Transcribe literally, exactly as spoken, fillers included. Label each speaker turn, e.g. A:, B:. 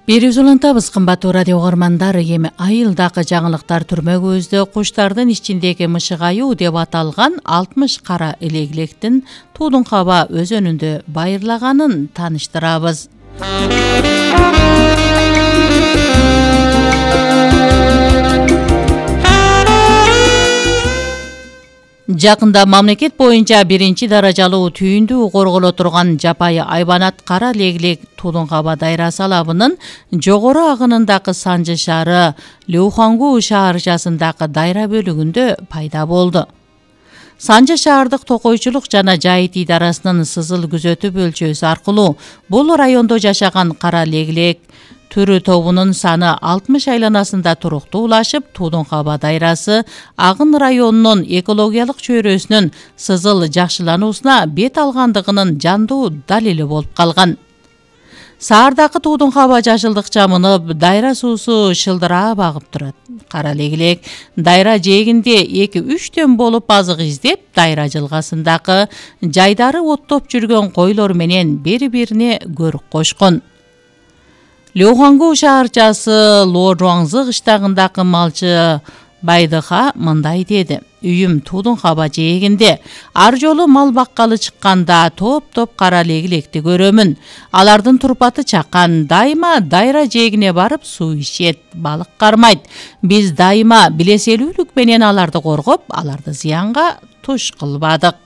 A: Берип улантабыз кымбаттуу радио угармандар. Эми айылдагы жаңылыктар түрмө көздө куштардын ичиндеги мышыгаюу деп аталган алтымыш кара элегилектин Туудун Каба өзөнүндө байырлаганын тааныштырабыз. Жакында мамлекет боюнча биринчи даражалуу түйүндүү корголо турган жапайы айбанат кара легилек Туудун Каба дайрасы алабынын жогору агынындагы Санжы шаары Леухангу шаарчасындагы дайра бөлүгүндө пайда болду. Санжы шаардык токойчулук жана жайыт идарасынын сызыл күзөтүү бөлчөсү аркылуу бул райондо жашаган кара легилек түрү тобунун саны алтымыш айланасында туруктуулашып, Туудун Каба дайрасы Агын районунун экологиялык чөйрөсүнүн сызыл жакшылануусуна бет алгандыгынын жандуу далили болуп калган. Саардагы Туудун Каба жашылдык чамынып, дайра суусу шылдырап агып турат. Кара легилек дайра жээгинде эки-үчтөн болуп азык издеп, дайра жылгасындагы жайдары оттоп жүргөн койлор менен бири-бирине көрүк кошкон. Леухангу шаарчасы Ло-Жуаңзы кыштагындагы малчы Байдыха мындай деди: үйүм Туудун Каба жээгинде. Ар жолу мал баккалы чыкканда топ-топ кара легилекти көрөмүн. Алардын турпаты чакан, дайыма дайра жээгине барып суу ичет, балык кармайт. Биз дайыма билеселүүлүк менен аларды коргоп, аларды зыянга туш кылбадык.